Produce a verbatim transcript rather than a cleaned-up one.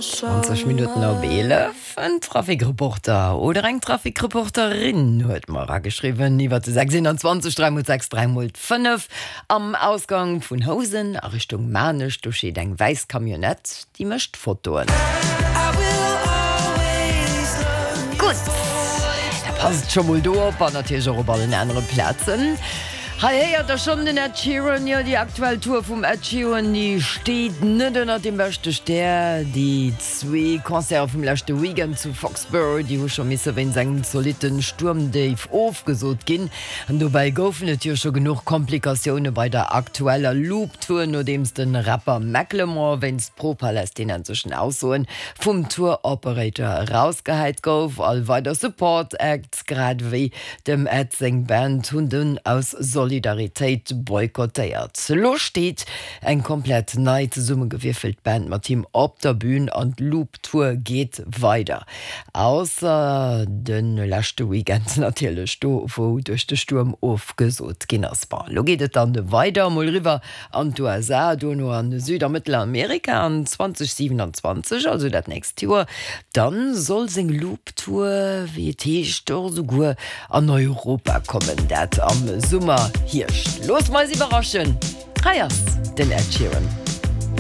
Zwanzeg Minutten op eelef. En Trafikreporter oder eng Trafikreporterin huet mer erageschriwwen iwwer de sechs eenanzwanzeg dräi mol sechs dräi mol fënnef. Am Ausgang vun Housen a Richtung Maarnech, do steet eng wäiss Camionnette, déi mécht Fotoen. Gutt, da passt scho mol do op an natierlech och op allen anere Plazen. Hei héiert der schonn den Ed Sheeran. Jo, déi aktuell Tour vum Ed Sheeran, déi steet net ënnert dem beschte Stär. Déi zwee Concerte vum leschte Weekend zu Foxborough, déi hu scho misse wéinst engem zolitte Stuermdéif ofgesot ginn. An dobäi goufen et jo scho genuch Komplikatioune bei der aktueller Loop-Tour, nodeems de Rapper Macklemore wéinst pro-palästinenseschen Aussoe vum Tour-Operator erausgehäit gouf. All weider Support-Acts, grad ewéi Dem Ed seng Band hunn dunn aus Solidaritéit boykottéiert. Lo steet eng komplett nei zesummegewierfelt Band mat him op der Bün an d'Loop Tour geet weider. Ausser de leschte Weekend natierlech, do wou duerch de Stuerm ofgesot ginn ass. Bon, lo geet et dann weider, mol eriwwer an d'USA, dono an Süd a Mëttelamerika an zweitausendsiebenundzwanzeg, also dat nächst Joer, dann soll seng Loop Tour, wéi et heescht, och esouguer an Europa kommen, dat am Summer, Hierscht. Loosse mer eis iwwerraschen. Hei ass den Ed Sheeran.